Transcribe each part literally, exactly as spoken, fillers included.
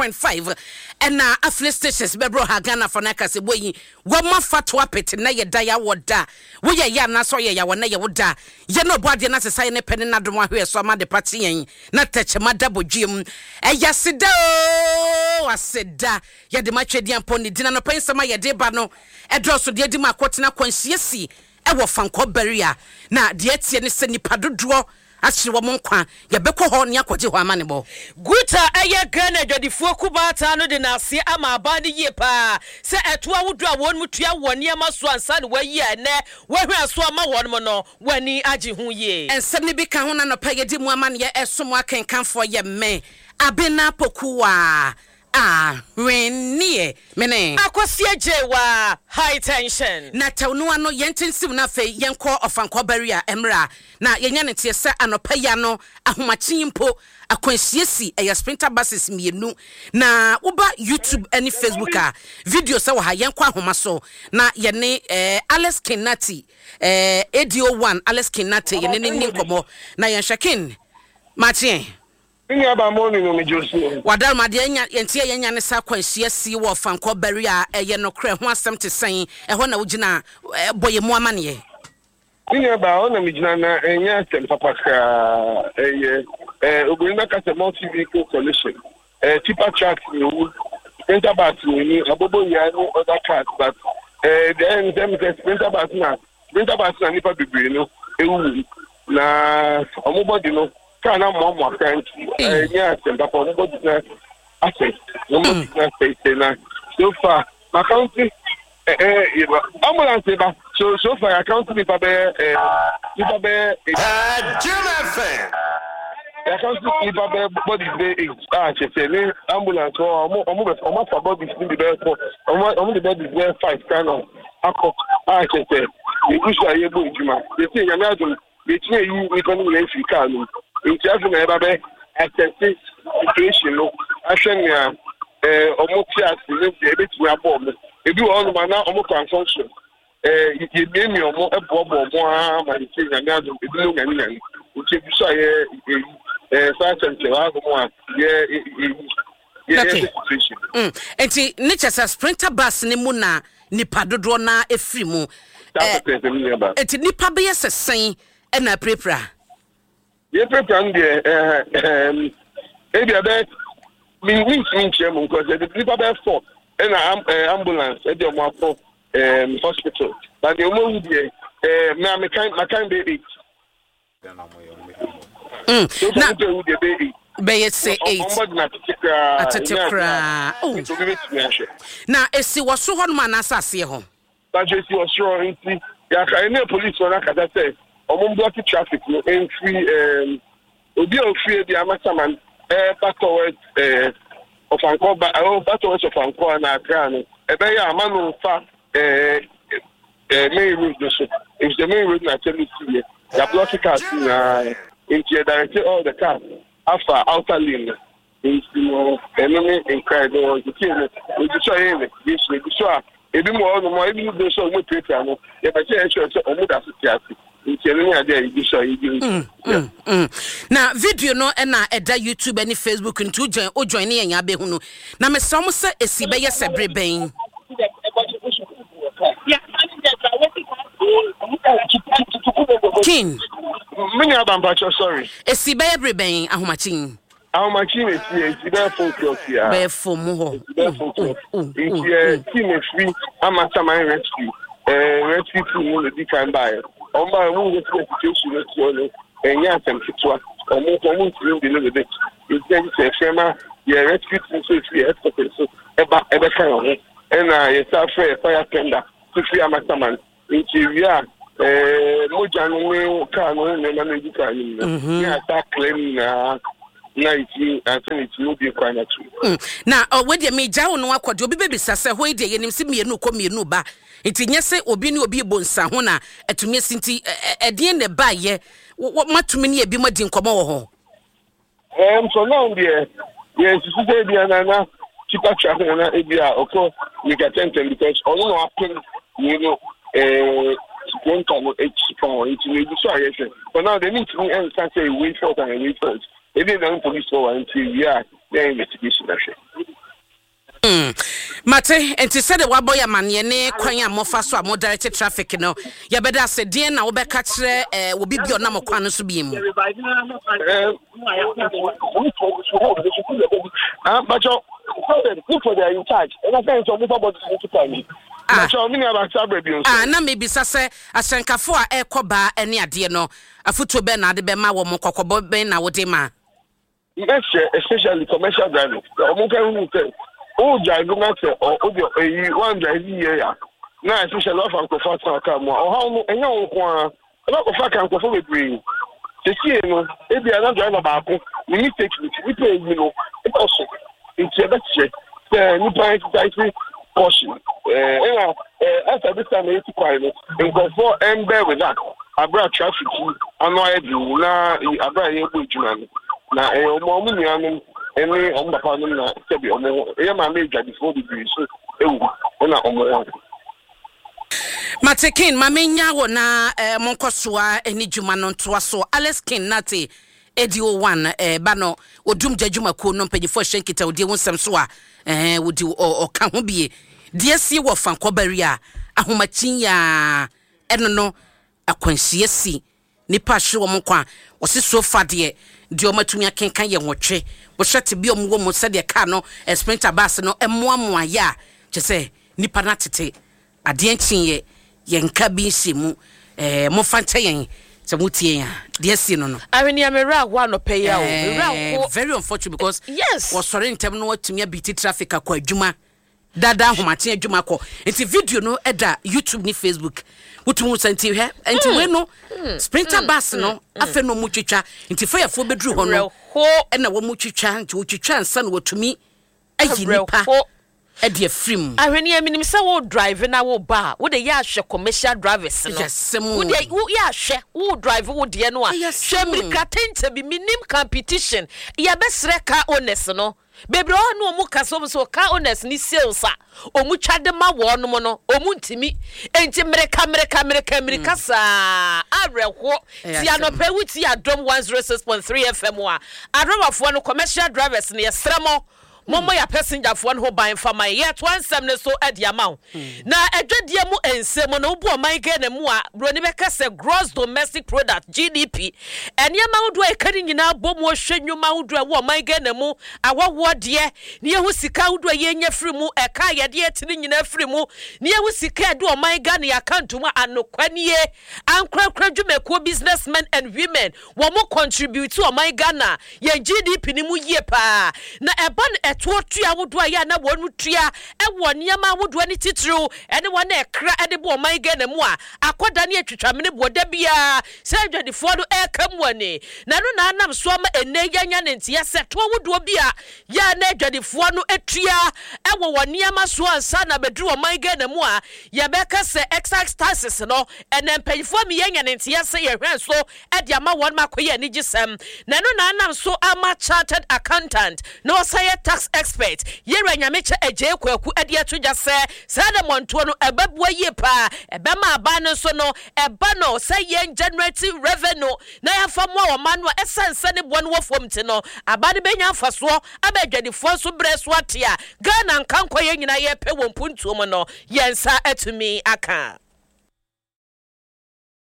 point five ɛna affiliate stations bɛbrɛ ha. Ghana fa no akasɛ bɔ yi wɔma fa to apete na yɛda yɛawɔ da woyɛ yɛ anaasɛ ɔyɛ yɛawɔ na yɛwo da yɛ na ɔbɔ adeɛ no asesa yɛ ne pɛ ne nadom ahwɛ so ama de pa kye yɛn na tɛkyɛma da bɔdwiem. Ɛyɛ aseda o, aseda yɛde ma twɛdi ampɔ ne dina nɔpɛ. Nsɛm a yɛde ba no ɛdɔɔso deɛ di mu akɔtena kwanhyia ɛwɔ Fankɔ Barrier, na deɛ ɛteɛ ne sɛ nipa dodoɔ akyere wɔn nkwa. Yɛbɛkɔ hɔ ne akɔgye hɔ ama ne bɔ. Guta ɛyɛ Ghana adwadifoɔ kubaata no de n'ase ama aban no yie paa sɛ ɛto ahodoɔ a wɔn mu tua wɔ nneɛma so ansa na wɔayi a ɛnɛ wɔahwɛ aso ama wɔn mu no, wɔani agye ho yie. Nsɛm no bi ka ho na nɔpɛ yɛdi mu amanneɛ ɛsom akenkanfoɔ yɛ mmɛ Abena Pokuwa Ahwenneɛ mene Akɔsi Agye wa High Tension. Na tɛw no ano yɛnte nsim no. Afei yɛnkɔ Ɔfankɔ Barrier mmerɛ na yɛnya ne teɛ sɛ anɔpa yi ano ahomakye mpo akwanhyia si, ɛyɛ sprinter buses mmienu. Na woba YouTube ne Facebook a, video sɛ wɔ ha. Yɛnkɔ ahoma so na yɛne eh, Alex Kinati, eh, ado one Alex Kinati, yɛne ne ni nkɔmmɔ na yɛnhwɛ. Kin makyeɛ. Me nua ba mo no me josu. Wadaroma deɛ nya yɛnti yɛ yɛnya ne sa akwanhyia si wɔ Fankɔ Barrier a, ɛyɛ nokorɛ ho asɛm te sɛn? Ɛhɔ na wogyina bɔ yɛ mu amanneɛ. Me nua ba, ɔna me gyina na ɛnyɛ asɛm papa koraa. Ɛyɛ ɛɛ obìnrin bɛka sɛ multi vehicle collision. Ɛɛ tipper trucks mmienu, sprinter bus mmienu, aboboyaa ne other cars, but ɛɛ deɛ ɛyɛ nsɛm sɛ sprinter bus na sprinter bus na nipa bebree no ewu na ɔmo bɔdi no kaa na mmoamoa kora, nti ɛnyɛ asɛm papa. Ɔmo bɔdi na asɛ ɔmo bɔdi na sɛsɛ na so far makanti ɛɛ ambulance ba. so so far account nipa bɛyɛ ɛɛ nipa bɛyɛ eight. Jim F M. Account nipa bɛyɛ bodies bɛyɛ eight a kyerɛ sɛ ne ambulance hɔ, ɔmo ɔmo bɛ ɔmo afa bodies ni bi bɛyɛ four, ɔmo ɔmo de bodies bɛyɛ five kan na akɔ a kyerɛ sɛ yɛgu so a yɛbɔ adwuma. Yɛsi Nyame adum, yɛtumi ayi nipa no nyinaa efiri kaa no mu, nti afei na yɛba bɛ assess situation no ahwɛ nea ɛɛ ɔmo te ase ne deɛ ebetumi abɔ ɔmo. Ebi wɔ hɔnom a na ɔmo kɔ unconscious, ɛɛ yɛmiamia ɔmo, ɛboaboa ɔmo ara ma yɛsɛ Nyame adum ebi mo nyane nyane, nti ebi so a yɛ eyi ɛɛ saa kyɛnkyɛn wɔ ahom a yɛ eyi yɛ Okay. yɛ situation. Mm. Nti ne kyɛ sɛ sprinter bus ne mu na nipa dodoɔ na efiri mu. Saa Eh, pɛpɛɛpɛ, mi nua ba. Nti nipa bɛyɛ sɛ sɛn ɛna apirapira? Yɛpirapira no deɛ, ɛɛ ɛɛm ebi abɛ mi mi ntumi nkyerɛ mu nkɔsɛ ɛde nipa bɛyɛ four ɛna am ɛɛ ambulance ɛde ɔmo akɔ ɛɛm hospital, na deɛ ɔmo ewu deɛ, ɛɛ mɛ amekan makan bɛyɛ eight. Mm. So Na nipa ewu deɛ bɛyɛ eight. Bɛyɛ sɛ eight. Ɔmo bɔ gyina tete koraa. Atete ɛnyɛ ade a koraa. Oh. Obi bɛtumi ahwɛ. Na esi wɔ so hɔnom anaasɛ aseɛ hɔ? Bàtɛ esi wɔ soro, nti yàtà ɛne polisi wɔn akasa sɛ ɔmo block traffic no mfiri ɛɛm obi a ofiri ebi Amasaman ɛɛba towards ɛɛ Ɔfankɔ ba, ɛɛ towards Ɔfankɔ a na Accra no, ɛbɛyɛ ama no nfa ɛɛ ɛɛ main road no so, efisɛ main road na akyɛm si yɛ yà block cars nyinaa, nti yɛ direct all the cars afa outer lane no. Nti no ɛno ne nkran no wɔ nti no ebi so a yɛ investigation, ebi so a ebi mu wɔ hɔnom a ebi mu bi nso a ɔmo pirapira no, yɛbɛ sɛ yɛhwɛ sɛ ɔmo da so te ase, nti ɛno ne adeɛ a ebi so a yɛdi. Mm, mm, mm. Na video no ɛna ɛda YouTube ne Facebook, nti wojoin wojoin ne yɛn abɛhu no. Na mesrɛ mo sɛ esi bɛyɛ sɛ bere bɛn? King. Me nua Bampakyɛ, sorry. Esi bɛyɛ bere bɛn ahomakyen? Ahomakye na esi yɛ, esi bɛyɛ four o'clock ya. Bɛyɛ four mu hɔ. Bɛyɛ four o'clock, nti ɛ team efiri Amasaman rescue, ɛɛ rescue team no na di kan baayɛ. Ɔmo baayɛ, ɔmo nso sɛ situation no ti hɔ no ɛnyɛ asɛm ketewa, ɔmo nso ɔmo ntumi ndi no bebe, nti ɛgye sɛ ɛfrɛ ma yɛ rescue team so efiri yɛ headquarters so ɛba ɛbɛka yɛn ho, ɛna yɛsa frɛ yɛ fire tender so firi Amasaman. Nti ewie a, ɛɛ mogya no ne kaa no ho nneɛma no egu kaa no mu no ne asa clear no nyinaa na etumi ansa na etumi obie kwan na to. Mm. Na ɔ wedeɛ megya wo no akɔ deɛ, obi bɛbisa sɛ hɔ yi deɛ yɛnim sɛ mmienu kɔ mmienu ba, nti nyɛ sɛ obi ne obi bɔ nsa ho na atumi asi, nti ɛ- ɛ- ɛdeɛn na ɛbaayɛ? Wo- wo- matumi ne ebi mo adi nkɔmmɔ wɔ hɔ? ɛɛm for now deɛ, yɛn sisi sɛ ebi ana na tipper truck na na ebi a ɔkɔ mika tɛntɛn, because ɔno na wapem wei no ɛɛ sprinter no akyi pɔn, nti na ebi so a yɛhwɛ. For now deɛ, ne ntumi ɛnka sɛ ewei fault and ewei fault, ebi na police wɔ wa, nti ewie a yɛn investigation ahwɛ. Mate, nti sɛde wabɔ yɛ amanneɛ ne kwan a mofa so a mo direct traffic no, yɛbɛda ase. Deɛn na wobɛka kyerɛ eh, obi bi a ɔnam kwan no so bi mu? Ah, but look for the in charge. And I say, so move about the time. Ah. Ah, na mebisa sɛ ahyɛnkafo a ɛrekɔ baa ne adeɛ no, afotuo bɛn na ade bɛma wɔ mo, kɔkɔbɔ bɛn na wode ma? Mɛhyɛ, especially commercial drivers, ɔmo ka hu sɛ o drive na sɛ ɔ o de eyi one drive yie ya na especially wafa nkurɔfoɔ atena kaa mu a, ɔhaw no ɛnyɛ wɔn nko ara, ɛbɛkɔfa ka nkurɔfoɔ bebree. Sesie no, ebi a na driver baako ne mistake nti nipa eyi no ɛkɔ so, nti ɛbɛkyerɛ sɛ nipa exercise caution. ɛɛ ɛna ɛɛ asa this time eti kwan no, nkurɔfoɔ ɛn with that abira traffic yi ano ayɛ den na abira yɛ bɔ adwuma no na ɛyɛ ɔmo ɔmo nuanom ɛne ɔmo papa nom na sɛbi ɔmo ɛyɛ maame adwadifoɔ bebree so ewu ɛna ɔmo ho. Mate Ken, ma menya wɔ na eh, monkɔ soa ne dwuma no ntoa so. Alex Ken Nate A D O one eh, ba no odum gya dwumakuo no mpanyinfoɔ hyɛ nkitahodie ho nsɛm so a eh, wodi ɔka ho bie deɛ sie wɔ fankɔbari a ahomakyin yaa ɛno no akwanhyia si nipa ahwere wɔn nkwa. Wɔsi so fa deɛ deɛ wɔn atumi akenkan yɛ nwɔtwe. Wɔhyɛ te bi a wɔn wɔ mu sɛdeɛ kaa no, sprinter bus no mmoamoa yɛ a kyɛ sɛ nipa no atete adeɛ nkyenyɛ yɛn nka bi nhyɛ mu. ɛɛ momfa nkyɛ yɛn sɛ motie yɛn a, deɛ si no no Ahwenea, me werɛ aho anɔpɛ yi a o, me werɛ aho. Very unfortunate because yes wɔsɔre ntɛm no watumi abeat traffic akɔ adwuma dada, ahomakye adwuma kɔ. Nti video no ɛda YouTube ne Facebook, wotumi sɛ nti hwɛ nti wei no sprinter bus no afei na ɔmu twitwa nti fɛyɛfoɔ bɛduru hɔ no ɛna wɔn twitwa nti wɔtwitwa nsa na wɔtumi ayi nipa ɛde afiri mu. Ahwenea, menim sɛ wo drive na wo ba a, wode yɛ ahwɛ commercial drivers no. Yɛsɛm. Wode wo yɛ ahwɛ wo drive wo deɛ no a, hwɛ mmirika tɛntɛ bi menim competition. Yɛbɛsrɛ car owners no bebree hɔ ne ɔmu kasa, ɔmu sɛ car owners ni sales a ɔmu twa de ma wɔn no, ɔmu ntumi nti mmirika mmirika mmirika mmirika saa awerɛhoɔ. Ti anɔpɛ wuti Adom one zero six point three F M a, adrɔbafoɔ no, commercial drivers no, yɛsrɛ mo, mommɔ yɛ passengerfoɔ no ho ban fa ma yɛ. Yɛtoa nsɛm no so de ama wo. Na adwadeɛ mu nsɛm no, wobu ɔman Ghana mu a, buroni bɛka sɛ gross domestic product, G D P, nneɛma ahodoɔ a ɛka ne nyinaa bɔ mu, ɔhwɛ nnwuma ahodoɔ a ɛwɔ ɔman Ghana mu, awɔwoɔ deɛ ne yɛho sika ahodoɔ a yɛnya firi mu, ɛka a yɛde ɛte ne nyinaa firi mu, ne yɛho sika a ɛde ɔman Ghana yɛ account mu a, anokwa nie, ankorakora dwumakuo, businessmen and women, wɔn mo contribute ɔman Ghana yɛn G D P ne mu yie paa. Na ɛba no ɛtoɔ tua ahodoɔ a yɛ a na wɔn tua ɛwɔ nneɛma ahodoɔ ne titiriw ɛne wɔn a ɛkra ɛde bɔ ɔman Ghana mu a, akɔda ne atwitwamene boɔ da biara sɛ adwadifoɔ no ɛreka mu ani na ɛno na anam so ama ɛnɛ yɛnya ne nteɛ sɛ toɔ ahodoɔ bi a yɛ a na adwadifoɔ no atua ɛwɔ wɔn nneɛma so ansa na bɛduru ɔman Ghana mu a, yɛbɛka sɛ excise taxes no, ɛnɛ mpanyinfoɔ mi yɛnya ne nteɛ sɛ yɛhwɛ so ɛde ama wɔn ma akɔyɛ anigyesɛm. Na ɛno na anam so ama chartered accountant na ɔsan yɛ tax expert, yɛwura Nyamekyɛ Agye Kwaku, ɛde ato dwa sɛ saa na mmɔntoɔ no ɛbɛboa yie paa, ɛbɛma aban no nso no ɛba no sɛ yɛn generate revenue na yɛafa mmoa wɔn ma no a, ɛsiane sɛ ne boɔ no wɔ fam ti no, aba no bɛnya mfasoɔ ama adwadifoɔ nso berɛ so ate a Ghana nkankɔ yɛn nyinaa yɛpɛ wɔ mpuntuo mu no, yɛn nsa atumi aka.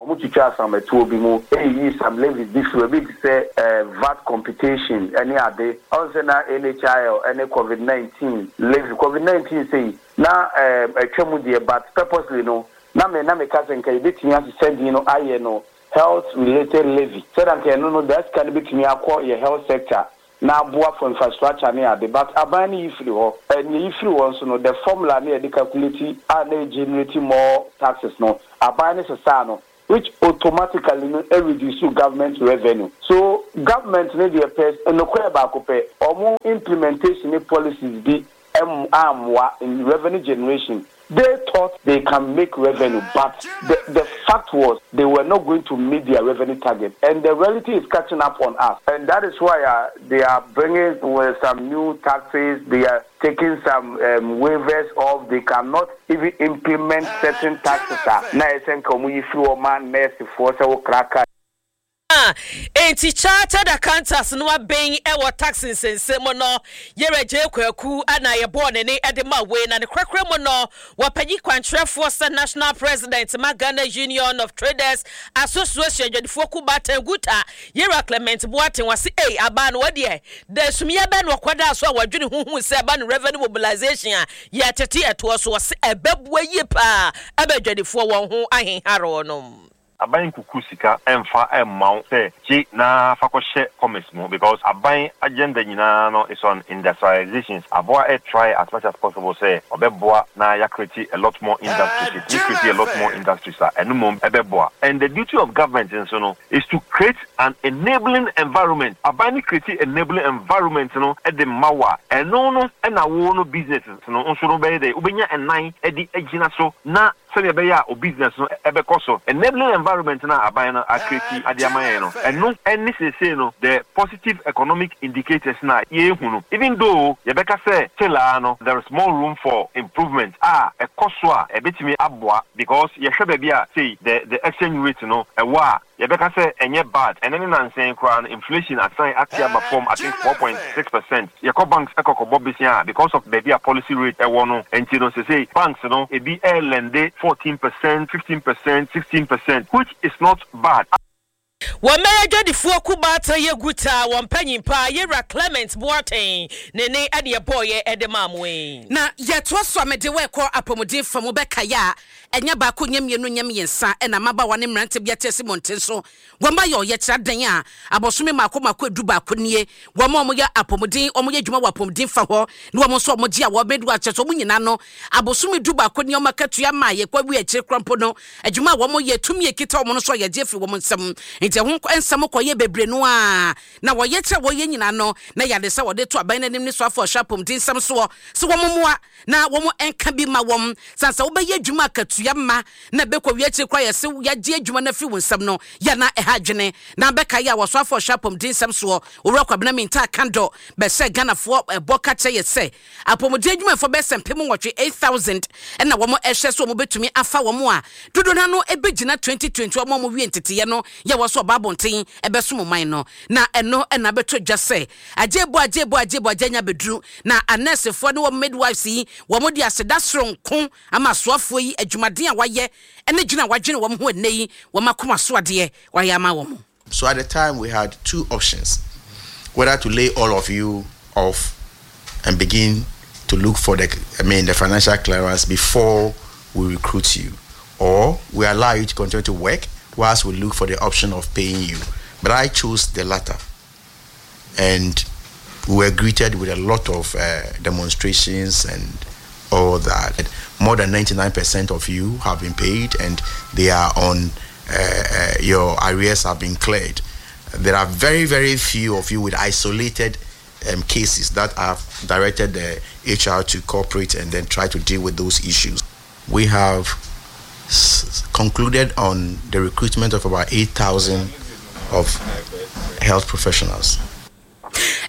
Wɔn twitwa asamatuo bi mu eyiyi some levies bi firi ebi te sɛ ɛɛ V A T computation ɛne ade ɔn sɛ na N H I L ɛne COVID nineteen levy. COVID nineteen sɛyi na ɛɛ ɛtwa mu deɛ, but purposely no na me na meka sɛ nka yɛbɛtumi asesa din no ayɛ no health related levy, sɛdeɛ nka ɛno no daa sika no bɛtumi akɔ yɛ health sector na aboa for infrastructure ne ade, but aban no yi firi hɔ. Ɛnea yi firi hɔ nso no, the formula ne yɛde calculate a na generate more taxes no, aban no sesaa no, which automatically no reduce government revenue. So government ne deɛ pɛ nokorɛ baako pɛ, ɔmo implementation ne policies bi ɛm ammoa in revenue generation. They thought they can make revenue, but the the fact was they were not going to meet their revenue target, and the reality is catching up on us, and that is why uh, they are bringing uh, some new taxes. They are taking some um, waivers off. They cannot even implement certain taxes a na ɛsɛ nka ɔmo yi firi wɔn ma nɛɛsefoɔ sɛ wɔkraka. Aha, enti Chartered Accountants no abɛn wɔ tax nsɛnsɛm mu no, Yerah Gyei Kwaku na yɛbɔɔ ne ne de ma wei, na ne korakora mu no, wɔpanyin kwankyerɛfoɔ sɛ National President ma Ghana Union of Traders Association adwadifoɔ kuo baatan GUTA, Yerah Clement Boateng, wɔse ei, abaa no wɔdeɛ, da sumiiɛ bɛn na ɔkɔdaa so a wɔdwene ho huu sɛ ɛba no revenue mobilization a yɛtete ɛtoɔ so, wɔse ɛbɛboa yie paa ama adwadifoɔ wɔn ho ahenhare wɔnom. Aban nkuku sika mfa mma wo sɛ gye na fa kɔhyɛ commerce mu because aban agenda nyinaa no is on industrializations. Aboa ɛ try as much as possible sɛ ɔbɛboa na ya create a lot more industries. Yɛtumi create a lot more industries a, ɛno mmom ɛbɛboa. And the duty of government nso no is to create an enabling environment. Aban no create enabling environment no de ma wo a, ɛno no na wo no business no nso no bɛyɛ dɛ wobɛnya ɛnan de agyina so na sɛnea ɛbɛyɛ a o business no ɛbɛkɔ so. Enabling environment no a aban no acreate de ama yɛn no, ɛno ne seesei no the positive economic indicators no a yɛrehu no. Even though yɛbɛka sɛ still ara no there is more room for improvement a ɛkɔ so a ɛbɛtumi aboa, because yɛhwɛ baabi a sei the the exchange rate no ɛwɔ a, yɛbɛka sɛ ɛnyɛ bad. Ɛno ne nansa yi koraa no inflation asan ate aba fam, I think four point six percent. Yɛkɔ banks ɛkɔ kɔbɔ besia a, because of baabi a policy rate ɛwɔ no nti no, sesei banks no ebi ɛɛlend fourteen percent, fifteen percent, sixteen percent, which is not bad. Wɔn mmɛyɛ adwadifoɔ kubaatan yɛ GUTA wɔn mpanyin paa, Yɛwura Clement Boateng, ne ne ɛne ɛbɔɔyɛ ɛde maa mo yi. Na yɛtoa so a, mede wɔɛkɔ apɔmuden fa mu bɛkaeɛ a, ɛnyɛ baako, nyɛ mmienu, nyɛ mmiɛnsa, ɛna mmabaawa ne mmerante bi ate asi mmɔnten so wɔn ayɛ ɔyɛkyerɛ adan a abɔsome mmaako mmaako edu baako nie. Wɔn a wɔyɛ apɔmuden, wɔn yɛ adwuma wɔ apɔmuden fa hɔ, ne wɔn nso a wɔgye a wɔbɛdu akyɛ so, wɔn nyinaa no, abosome du baako ne wɔn akatua ma yɛkɔ awie akyire kora mpo no, adwuma a wɔn yɛ, tumi ekita wɔn no so a yɛgye afiri wɔn nsam. Nti ɛho nsɛm kɔyɛ bebree no a, na wɔyɛ kyerɛ wɔyɛ nyinaa no na yɛade sɛ wɔde to aban n'anim ne so afɔ ɔhyɛ apɔmuden nsɛm soɔ sɛ wɔn mmoa na wɔn nka bi ma wɔn san sɛ wobɛyɛ adwuma akatua ma na bɛkɔ wie akyire kora yɛsɛ yɛagye adwuma no afiri wo nsɛm no yɛ na ɛha adwene. Na bɛka yɛ a wɔso afɔ ɔhyɛ apɔmuden nsɛm soɔ, Owura Kwabena Mintah Akandoh, bɛhyɛ Ghanafoɔ ɛbɔ ka kyerɛ yɛ sɛ apɔmuden adwumayɛfoɔ bɛsɛ mpem nwɔtwe, eight thousand, ɛna wɔn ɛhwɛ so wɔn bɛtumi afa wɔn a dodoɔ no ano ɛbɛgyina twenty twenty wɔn a wɔn wie nteteyɛ no yɛ wɔ so ɔba abɔnten ɛbɛsom ɔman no. Na ɛno ɛna bɛtɔ dwa sɛ agyebo agyebo agyebo agye nya bɛduru na anɛɛsefoɔ ne wɔn midwives yi, wɔn de aseda soronko ama asoafoɔ yi adwumaden a wayɛ ɛne gyina a wadwene wɔn ho. Ɛnɛ yi wɔn akoma so adeɛ wayɛ ama wɔn. So at the time we had two options: whether to lay all of you off and begin to look for the, I mean, the financial clearance before we recruit you, or we allow you to continue to work whilst we look for the option of paying you. But I chose the latter, and we were greeted with a lot of uh, demonstrations and all that. More than ninety-nine percent of you have been paid, and they are on uh, uh, your arrears have been cleared. There are very, very few of you with isolated um, cases that have directed the H R to cooperate and then try to deal with those issues. We have s- concluded on the recruitment of about eight thousand of health professionals.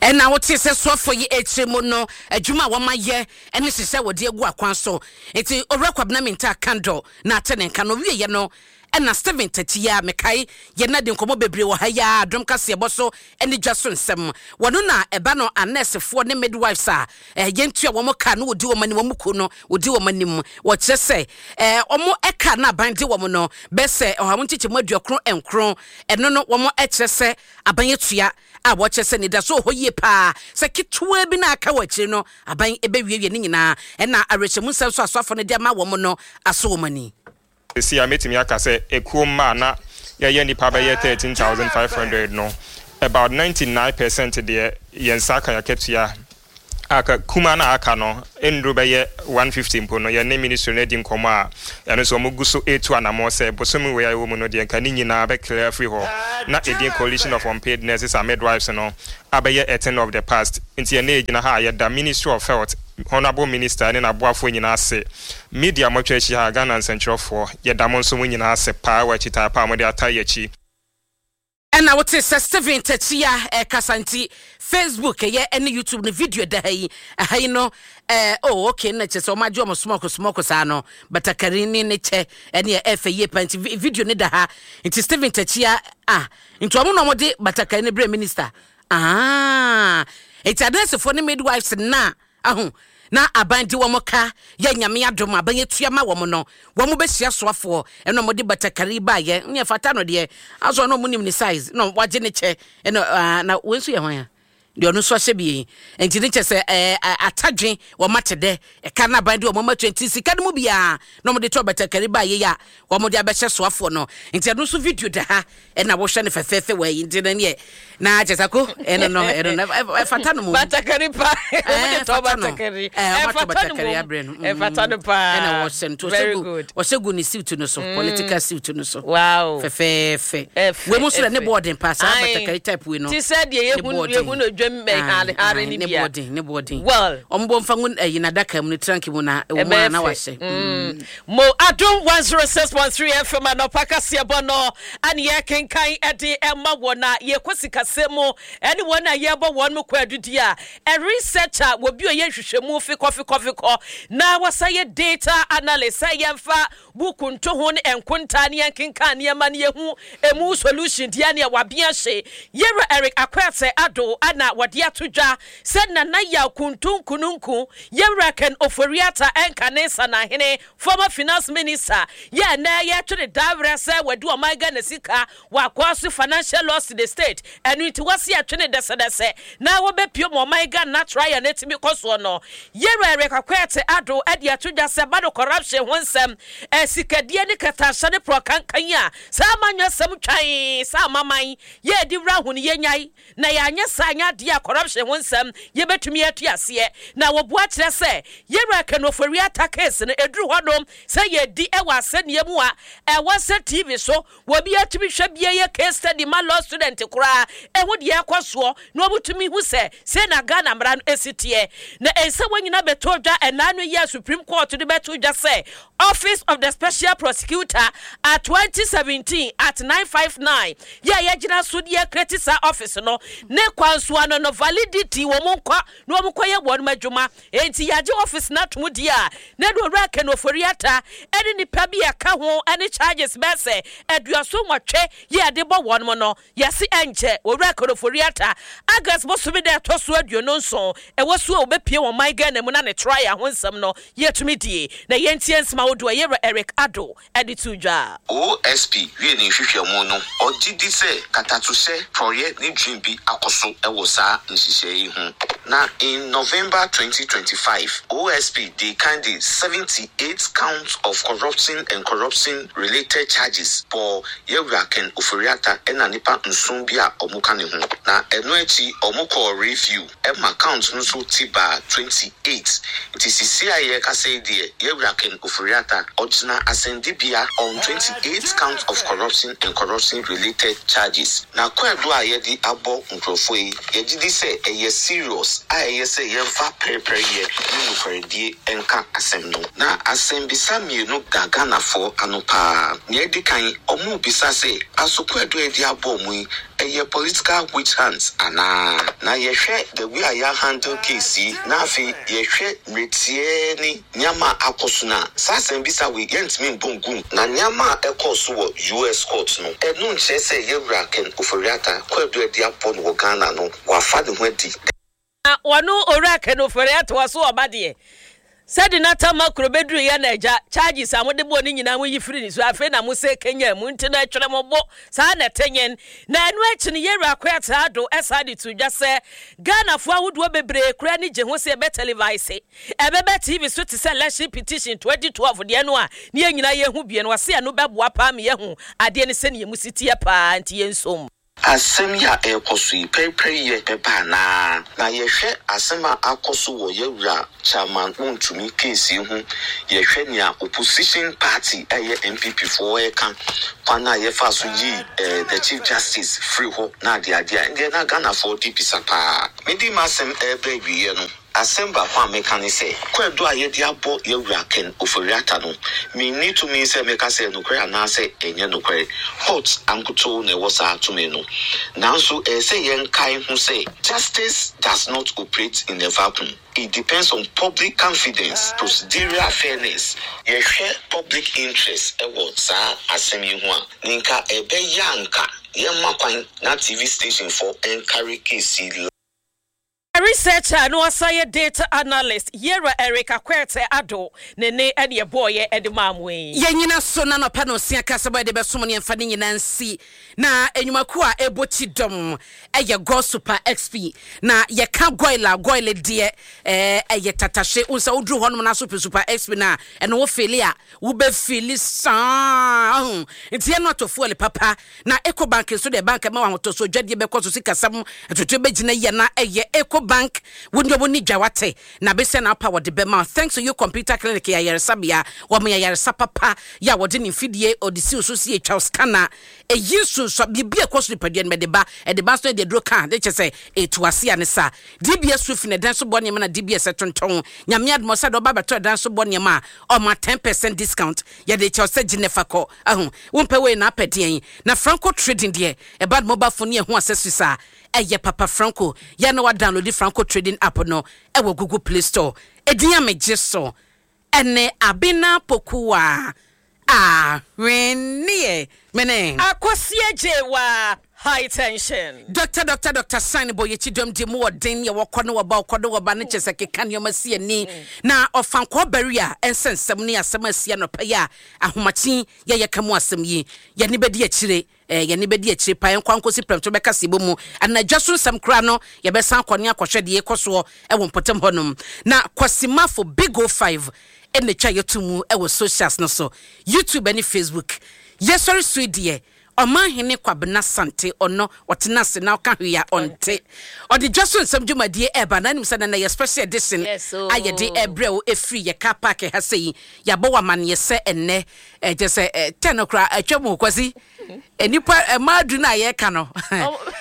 Ɛna wote sɛ soafo yi akyire mu no, adwuma a wɔmayɛ ɛne hyehyɛ wɔde agu akwan so. Nti Owura Kwabena Mintah Akandoh na ate ne nka no wieɛ no, ɛna Steven Takyi a mekae yɛna de nkɔmmɔ bebree wɔ ha yi a Adom kaseɛbɔ so ne dwa so nsɛm wɔno na ɛba no anɛɛsefoɔ ne midwives a eh, yɛntua wɔn ka no, wɔdi wɔn anim, wɔn kuo no wɔdi wɔn anim. Wɔkyerɛ sɛ eh, wɔn ɛka na aban de wɔn no bɛsɛ ɔha wɔn nkyekyɛmu aduɔkron nkron. Ɛno no wɔn ɛkyerɛ sɛ aban atua a wɔkyerɛ sɛ nidaso wɔ hɔ yie paa sɛ ketewa bi na aka wɔ akyire no, aban ɛbɛwiewie ne nyinaa. Ɛna awerɛhyɛmu nsɛm so asoafo no de ama wɔn no aso wɔn ani. Si a mɛtumi aka sɛ ekuo mma a na yɛyɛ nipa bɛyɛ thirteen thousand five hundred no, about ninety nine percent deɛ, yɛn nsa aka yɛakatua. Aka kuma na aka no nnuro bɛyɛ one fifty mpo no, yɛne ministry no adi nkɔmɔ a ɛno nso wɔn gu so etu anamɔ sɛ bosomi wei a ɛwɔ mu no deɛ, nka ne nyinaa bɛclear afiri hɔ na edin Coalition of Unpaid Nurses and Midwives no abɛyɛ a thing of the past. Nti yɛne egyina ha a yɛda Ministry of Health, Honourable Minister ne n'aboafoɔ nyinaa ase. Media mɔtwa akyi ha, Ghana nsɛntwerɛfoɔ, yɛda mo nso mo nyinaa ase paa wɔ akyitaa paa a mode ata yɛ akyi. Ɛna wote sɛ Stephen Takyia ɛkasa. Nti Facebook ɛyɛ ɛne YouTube no video da ha yi, ɛha yi no ɛɛ oh okay, na kyerɛ sɛ ɔmo agye ɔmo smock smock saa no, batakari ne ne kyɛ ɛne ɛfɛ yie pa. Nti video ne da ha. Nti Stephen Takyia, ah, nti ɔmo na ɔmo de batakari ne brɛ minister. Ah, nti adansifoɔ ne midwives na aho na aban de wɔn ka yɛ. Nyame adom, aban atua ma wɔn no, wɔn bɛhyia soafoɔ ɛna wɔn de batakari baayɛ ne ɛfata no deɛ asɔ na wɔn nim ne size na wagye ne kyɛ. Ɛna aa na wɔn nso yɛ hwan a deɛ ɔno nso ahyɛ bie. Nti ne kyɛ sɛ ɛɛ atadwe wɔn ate dɛ ɛka na aban de wɔn atua. Nti sika no mu biara na wɔn de tɔ batakari baayɛ yi a wɔn de abɛhyɛ soafoɔ no. Nti ɛno nso video da ha ɛna wɔhwɛ no fɛfɛɛfɛ wɔ yi. Nti no neɛ na kyɛ sɛ ko ɛno no ɛno no ɛfata no mu. Batakari pa, wɔn de tɔ batakari, ɛfata no mu, ɛfata no paa. Ɛna wɔhyɛ no very good. Wɔhyɛ gu ne suit no so, political suit no so. Wow fɛfɛɛfɛ. Wei mu nso dɛ ne bɔɔden pa saa batakari type wei no. Ti sɛ deɛ yɛhu yɛhu no dwam hare ne ne bia. Bɔɔden, ne bɔɔden. Well, ɔmo bɔ nfa ngu ɛyi n'adaka mu ne trunk mu na ɛwɔ mu a na wahyɛ. Mo Adom one oh six point three F M anɔpa kaseɛbɔ no ane yɛkenkan ɛde ɛma wɔ na yɛkɔ sikasɛm mu ɛne wɔn a yɛbɔ wɔn mu kɔ adudi a ɛ researcher wɔbi a ɔyɛ nhwehwɛmu fikɔfikɔfikɔ na wɔsa yɛ data analyst sɛ yɛmfa buku nto ho ne nkontaa ne yɛnkenkan nneɛma ne yɛhu emu solution deɛ ne wabea hye. Yɛwura Eric Akwɛsɛ Ado ana wɔde ato dwa sɛ Nana Yaw Kuntunkununku, yɛwura Ken Ofori-Atta ɛnka ne nsanahene, former finance minister, yɛ nɛ yɛtwere dawerɛ sɛ wɔde ɔman Ghana sika wakɔ so financial loss to the state. Ɛno nti wɔsi ɛtwene dɛsɛdɛsɛ na wɔbɛpie ma ɔman Ghana trial no atumi kɔ soɔ no. Yɛwura Eric Akwɛte Ado ɛde ato dwa sɛ ba no corruption ho nsɛm, ɛsikadie ne kɛtɛahyɛ ne porɔ kankan a saa amanyɔ sɛm twan saa amaman yɛdi wura ho no yɛnyae na yɛanyɛ saa nyɛ adeɛ a corruption ho nsɛm yɛbɛtumi atu aseɛ. Na wɔboa kyerɛ sɛ yɛwura Ken Ofori-Atta case no ɛduru hɔnom sɛ yɛdi ɛwɔ asɛnniɛ mu a ɛwɔ sɛ T V so wɔbi atumi hwɛ bia yɛ case study ma law student koraa ɛho deɛ ɛkɔ soɔ na wɔbɛtumi hu sɛ sɛ na Ghana mmara no ɛsi teɛ. Na ɛnsɛ wɔn nyinaa bɛtɔ dwa ɛnaa no yɛ Supreme Court de bɛto dwa sɛ Office of the Special Prosecutor at twenty seventeen at nine five nine yɛ a yɛgyina so deɛ create saa office no ne kwan so ano no validity wɔn nkɔ na wɔn kɔyɛ wɔn adwuma. Enti yɛagye office no atom deɛ a na de Owura Ken Ofori-Atta ɛne nipa bi a ɛka ho ɛne charges bɛɛ sɛ aduaso nwɔtwe yɛ yɛde bɔ wɔn mo no. Yɛsi ɛnkyɛ Owura Ken Ofori-Atta August bosome dɛ ɛtɔ so aduonu nson ɛwɔ so a wɔbɛpie wɔn man Ghana mu na ne trial ho nsɛm no yɛtumi die. Na yɛntie nsɛm ahodoɔ yɛwura Eric Ado ɛde to dwa. O S P wie ne nhwehwɛmu no, ɔgye di sɛ katatohyɛ, prɔyɛ ne dwen bi akɔ so wɔ saa nhyehyɛe yi ho. Na in November twenty twenty-five, O S P de kan de seventy-eight counts of corruption and corruption related charges bɔ yɛwura Ken Ofori-Atta ɛna nipa nson bi a ɔmo ka ne ho. Na ɛno akyi ɔmo kɔɔ review ɛma count no nso ti baa twenty-eight. Nti sisi a yɛrekasa yi deɛ, yɛwura Ken Ofori-Atta ɔgyina asɛndibea on twenty-eight counts of corruption and corruption related charges. Na kwaadu a yɛde abɔ nkurɔfoɔ yi, yɛgye di sɛ ɛyɛ serious a ɛyɛ sɛ yɛmfa pɛrepɛreyɛ ne nokwaredie nka asɛm no. Na asɛmbisa mmienu da Ghanafoɔ ano paa. Nea ɛdi kan, ɔmo bisa sɛ aso kwaadu a yɛde abɔ ɔmo yi ɛyɛ political witch hunt anaa? Na yɛhwɛ the way a yɛahandle case yi na afei yɛhwɛ mmeretie ne nneɛma a akɔ so no a, saa asɛmbisa wei yɛntumi mbɔ ngum. Na nneɛma a ɛkɔɔ so wɔ U S court no, ɛno nkyerɛ sɛ yɛwura Ken Ofori-Atta kwaadu a yɛde abɔ no wɔ Ghana no wafa ne ho adi. Na wɔno Owura Ken Ofori-Atta wɔ so ɔba deɛ sɛde n'atama kuro bɛduru yɛ na agya charges a mode bɔɔ ne nyinaa mo yi firi ne so. Afei na mo sɛ kenya mu nti no ɛtwerɛ mo bo saa na ɛte nyen. Na ɛno akyi no yɛwura Akoyata Ado ɛsaa de to dwa sɛ Ghanafoɔ ahodoɔ bebree koraa ni gye ho sɛ ɛbɛ televise, ɛbɛbɛ T V so te sɛ election petition twenty twelve deɛ no a ne yɛn nyinaa yɛhu bie no. Wɔse ɛno bɛboa paa ma yɛhu adeɛ no sɛnea mu si teɛ paa nti yɛnsom. Asɛm yi a ɛrekɔ so yi, pɛrepɛreyɛ bɛba anaa? Na yɛhwɛ asɛm a akɔ so wɔ yɛwura Chairman Wontumi case yi ho, yɛhwɛ nea opposition party a ɛyɛ N P P foɔ ɛka, kwan a yɛfa so yi eh, the Chief Justice firi hɔ na adeade a ɛndeɛ na Ghanafoɔ de bisa paa. Mede m'asɛm ɛreba awieɛ no, Asɛm baako a meka ne sɛ, kwaadu a yɛde abɔ yɛwura Ken Ofori-Atta no, menni tumi sɛ meka sɛ nokorɛ anaasɛ ɛnyɛ nokorɛ. Court ankotoo na ɛwɔ saa tumi no. Nanso ɛyɛ sɛ yɛnkae ho sɛ justice does not operate in a vacuum. It depends on public confidence, procedural fairness. Yɛhwɛ public interest ɛwɔ saa asɛm yi ho a, ne nka ɛbɛyɛ anka yɛmma kwan na T V station foɔ ɛncarry case yi. Researcher no ɔsan data analyst yɛra Eric Akwete Ado ne ne ɛne ɛbɔɔyɛ ɛde maa mo yi. Yɛnyina so na nɔpɛ no osia kasa bɔ yɛde bɛsom ne yɛmfa ne nyinaa nsi na enwumakuo a ɛbɔ kyi dɔm ɛyɛ Go Super X P. Na yɛka Goil a, Goil deɛ ɛɛ ɛyɛ tatahye wo nsa woduru hɔnom na so pɛ Super X P na ɛno wo fill a wobɛfill saa ɔho nti yɛno atɔ fuel papa. Na Eco Bank nso deɛ, bank ma wahotɔ so dwadeɛ bɛkɔ so, sikasɛm atoto bɛgyina yie na ɛyɛ Eco Bank. Wo ne wo ni dwa wate na bɛsɛ na apa wɔde bɛma. Thanks to You Computer Clinic yɛ ayaresabea, wɔn yɛ ayaresa papa yɛ a wɔde ne mfidie ɔde si so si atwa scanner ɛyi nsonso biribi a ɛkɔ so nipadua no bɛde ba ɛde ba nso de aduro ka de kyɛ sɛ ɛtu ase a ne sa D B S roofing ɛdan so bɔ nneɛma na D B S ɛtontɔn. Nyame adom sɛ de ɔba bɛtɔ ɛdan so bɔ nneɛma a ɔma ten percent discount yɛde kyɛw sɛ gye ne fa kɔ ahu wompɛ wei na apɛ deɛn. Na Franco Trading deɛ, ɛba de mobile phone ne ɛho accessories a ɛyɛ papa. Franco yɛn na wadownload Franco Trading app no ɛwɔ Google Play Store. Ɛdin a megye so ɛne Abena Pokuwa ahwenneɛ mene Akɔsie Gyewa High Tension. Doctor Doctor Doctor Sign bɔ yɛkyi dɔm di mu ɔden yɛ wɔkɔ ne wɔba, ɔkɔ ne wɔba ne kyɛ sɛ keka nneɛma si ani na ɔfankɔɔ bɛri a ɛnsɛ nsɛm ne asɛm asi anɔpɛ yi a ahomakye yɛyɛ ka mu asɛm yi yɛne bɛdi akyire eh, yɛne bɛdi akyire pa yɛnkɔ nkɔsi prɛmto bɛka sɛ bɔ mu anadwa so nsɛm koraa no yɛbɛsan akɔ ne akɔhwɛ deɛ ɛkɔ soɔ ɛwɔ mpɔtam hɔnom. Na Kwasimafo Big O five ɛna twa yɛto mu ɛwɔ socials no so, YouTube ne Facebook. Yɛsɔre so yi deɛ, Ɔmanhene Kwabena Sante ɔno ɔtena ase na ɔka hwee a ɔnte ɔde dwa so nsɛm dwumadie ɛɛba na anim sɛ nana yɛ special edition Yes, oh. a yɛde ɛbrɛ wo ɛfiri yɛ car park ha sɛ yi yɛabɔ wɔ amanneɛ sɛ ɛnnɛ ɛkyɛ sɛ ɛ, ten no koraa atwa mu. Kwasi, nnipa mmaa du no a yɛreka no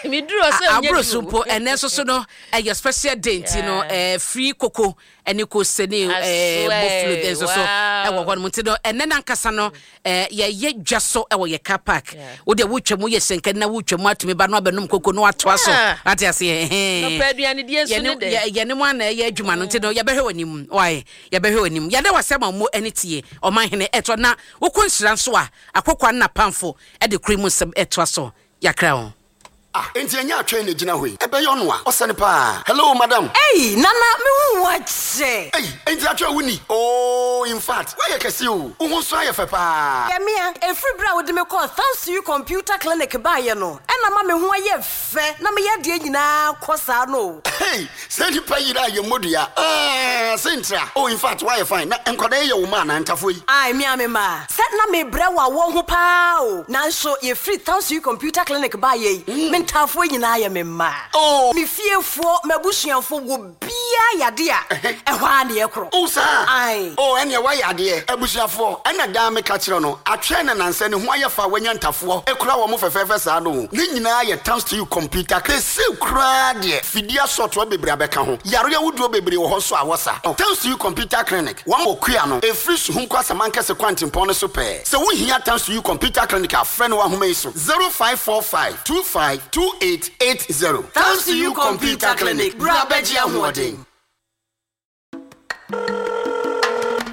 meduru ɔsɛ nyɛ aburo so duru. Mpo ɛnɛ nso so no ɛyɛ special day nti no Yeah. ɛɛ free koko ɛne kose ne I ɛɛ swear. Boflo nso so Wow. ɛwɔ hɔ nom nti no ɛnɛ nankasa no ɛɛ yɛyɛ dwa so ɛwɔ yɛ car park. Yeah. Wo deɛ wotwa mu yɛ hyɛnkɛn na wotwa mu atumi ba no abɛnom koko no atoa so. Yeah. Ate aseɛ, ɛhɛn. Nɔpɛ aduanedie nso ne yɛne dɛ. yɛ- yɛne mu ana ɛyɛ adwuma no nti no yɛbɛhwɛ w'anim wae, yɛbɛhwɛ w'anim. Yɛda wasɛm a mo ani tie ɔmanhene ɛtɔ na wokɔ nhyira nso a akɔkɔa no napamfo ɛde kuro mu nsɛm ɛtoa so yɛakra wo. Ah, enti ɛnyɛ atwɛn na gyina hɔ yi ɛbɛyɛ ɔno a ɔsɛne paa. Hello, madam. Ei, Nana, mehu wakyɛ. Ei, enti atwɛn wo ni? Oh, in fact woayɛ kɛse o, wo ho nso ayɛ fɛ paa. Yɛmea, ɛfiri berɛ a wode me kɔɔ Thanks to You Computer Clinic baeɛ no, ɛna ma me ho ayɛ fɛ na meyɛ deɛ nyinaa kɔ saa no o. Hey, sɛ nipa yere a yɛ mmɔdua ah, sɛ oh, in fact woayɛ fine na nkwadaa yi yɛ wo ma anaa ntafoɔ yi? Ai, mea me ma sɛ na mebrɛ wɔ awɔ ho paa o, nanso yɛfiri Thanks to You Computer Clinic baeɛ yi, me ntaafoɔ nyinaa yɛ me mma. Oh. Me fiefoɔ, m'abusuafoɔ wɔ biaa yade a ɛhɔ a ne yɛkorɔ. Oh, saa? Ai. Oh, ɛneɛ woayɛ adeɛ. Abusuafoɔ, ɛna daa meka kyerɛ no atwɛn na nansɛ ne ho ayɛ fa a wanya ntafoɔ ɛkura wɔ mo fɛfɛɛfɛ saa no o. Ne nyinaa yɛ Thanks to You Computer. Kɛse koraa deɛ fidie asɔtoɔ bebree abɛka ho, yareɛ wodoɔ bebree wɔ hɔ nso a wɔsa. Thanks to You Computer Clinic wɔn wɔ kua no ɛfiri Suhum kɔ Asamankɛse kwantempɔn no so pɛɛ. Sɛ wohia Thanks to You Computer Clinic a, frɛ no wɔ ahoma yi so: zero five four five two five two eight eight zero. Thanks to You Computer Clinic, bra bɛgye ahoɔden.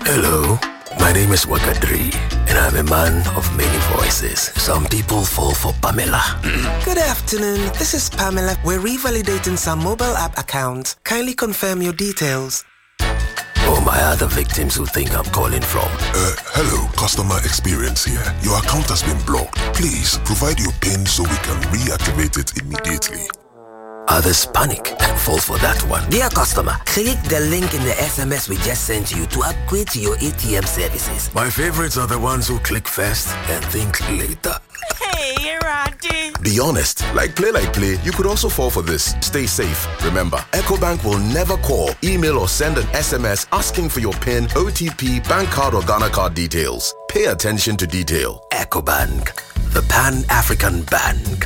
Hello, my name is Wakadri, and I'm a man of many voices. Some people fall for Pamela. Good afternoon. This is Pamela. We're revalidating some mobile app accounts. Kindly confirm your details. Oh, my other victims who think I'm calling from. Uh, hello, customer experience here. Your account has been blocked. Please provide your PIN so we can reactivate it immediately. Others panic and fall for that one. Dear customer, click the link in the S M S we just sent you to upgrade to your A T M services. My favorites are the ones who click first and think later. Hey, Randy. Be honest, like play like play, you could also fall for this. Stay safe. Remember, EcoBank will never call, email, or send an S M S asking for your PIN, O T P, bank card, or Ghana card details. Pay attention to detail. EcoBank, the Pan African Bank.